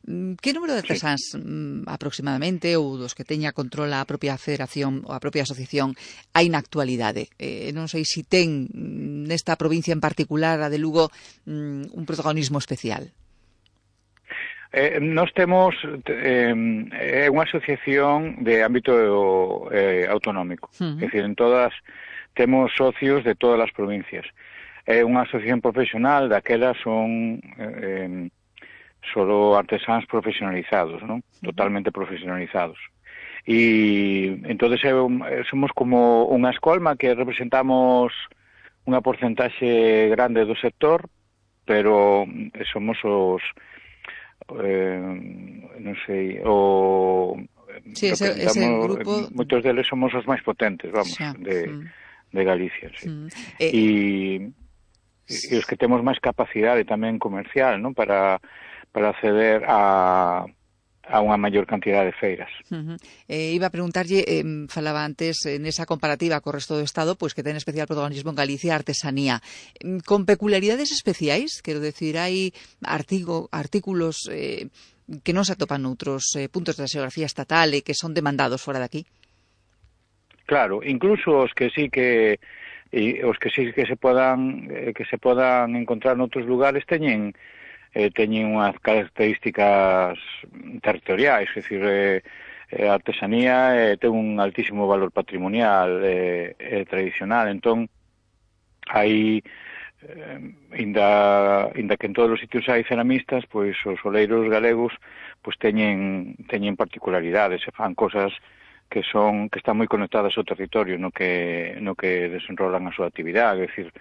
Que número de artesáns aproximadamente ou dos que teña control a propia federación ou a propia asociación hai na actualidade? Non sei se ten nesta provincia en particular, a de Lugo, un protagonismo especial. Nós temos unha asociación de ámbito autonómico, é dicir, en todas temos socios de todas as provincias. É unha asociación profesional, daquelas son solo artesáns profesionalizados, non? Totalmente profesionalizados. E entonces somos como unha escolma que representamos unha porcentaxe grande do sector, pero somos os non sei, sí, ese grupo, moitos deles somos os máis potentes, vamos, de Galicia, sí. E os que temos máis capacidade tamén comercial, non, para acceder a unha maior cantidad de feiras. Iba a preguntarlle, falaba antes, nesa comparativa co resto do Estado, pois que ten especial protagonismo en Galicia a artesanía. Con peculiaridades especiais, quero decir, hai artículos que non se atopan noutros puntos da xeografía estatal e que son demandados fora de aquí? Claro, incluso os que sí que se podan encontrar noutros lugares teñen unhas características territoriais, é dicir, a artesanía ten un altísimo valor patrimonial e tradicional, entón hai inda que en todos os sitios hai ceramistas, pois os oleiros galegos pois teñen particularidades e fan cosas que están moi conectadas ao territorio no que desenrolan a súa actividade, é dicir,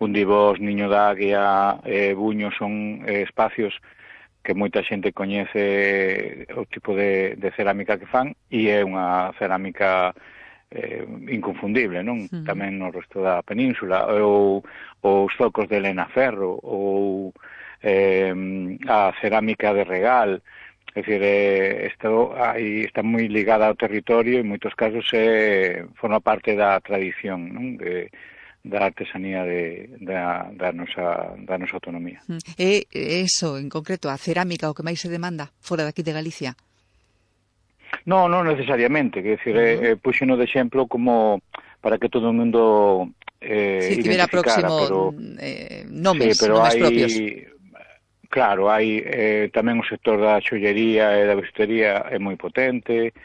Undibós, Niño da Águia, Buño son espacios que moita xente coñece o tipo de cerámica que fan, e é unha cerámica inconfundible, non? Tamén no resto da península, ou os zocos de Elena Ferro, ou a cerámica de Regal. É dicir, está moi ligada ao territorio e en moitos casos forma parte da tradición, non? Da artesanía da nosa autonomía. É eso, en concreto, a cerámica o que máis se demanda fora daqui de Galicia? Non necesariamente, quer dicir, puxeno de exemplo como para que todo o mundo identificara, próximo nomes propios. Claro, hai tamén o sector da xollería e da vestistería é moi potente.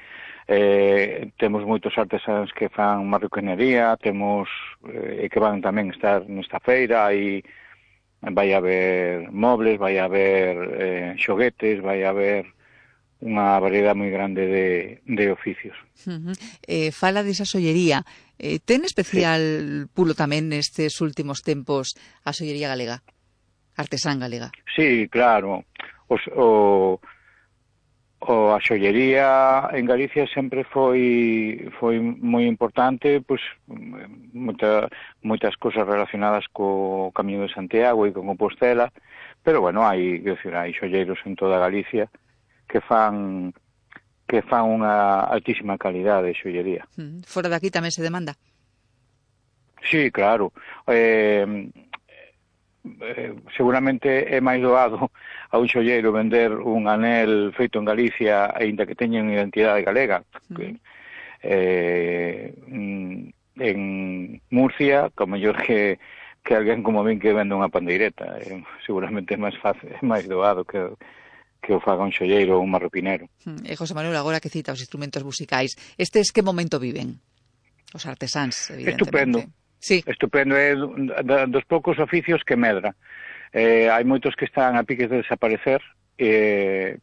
Temos moitos artesáns que fan marroquinería, temos que van tamén estar nesta feira, e vai haber mobles, vai haber xoguetes, vai haber unha variedade moi grande de oficios. Fala desa xollería. Ten especial pulo tamén nestes últimos tempos a xollería galega, artesán galega? Sí, claro. A xollería en Galicia sempre foi moi importante, pois moitas cosas relacionadas co Camiño de Santiago e con Compostela, pero bueno, hai xolleiros en toda Galicia que fan unha altísima calidade de xollería. Fora de aquí tamén se demanda? Sí, claro. Seguramente é máis doado a un xolleiro vender un anel feito en Galicia aínda que teña unha identidade galega. En Murcia, como mellor que alguén como min que vende unha pandeireta. Seguramente é máis fácil, é máis doado que o faga un xolleiro ou un marroquinero. José Manuel, agora que cita os instrumentos musicais, estes que momento viven? Os artesáns, evidentemente. Estupendo. Sí. Estupendo, é dos poucos oficios que medra. Hai moitos que están a piques de desaparecer,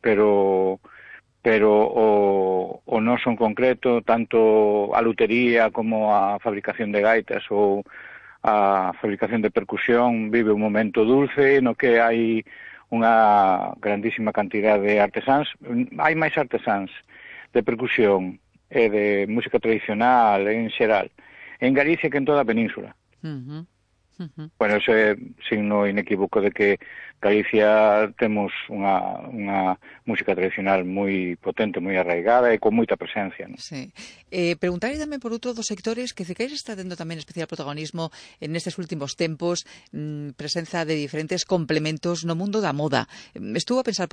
pero o noso en concreto, tanto a lutería como a fabricación de gaitas ou a fabricación de percusión, vive un momento dulce no que hai unha grandísima cantidad de artesáns. Hai máis artesáns de percusión e de música tradicional en xeral en Galicia que en toda a península. Bueno, eso é signo inequívoco de que Galicia temos unha música tradicional moi potente, moi arraigada e con moita presencia, non? Sí. Preguntarlle tamén por outro dos sectores que Cequeis está tendo tamén especial protagonismo nestes últimos tempos, presenza de diferentes complementos no mundo da moda. Estuvo a pensar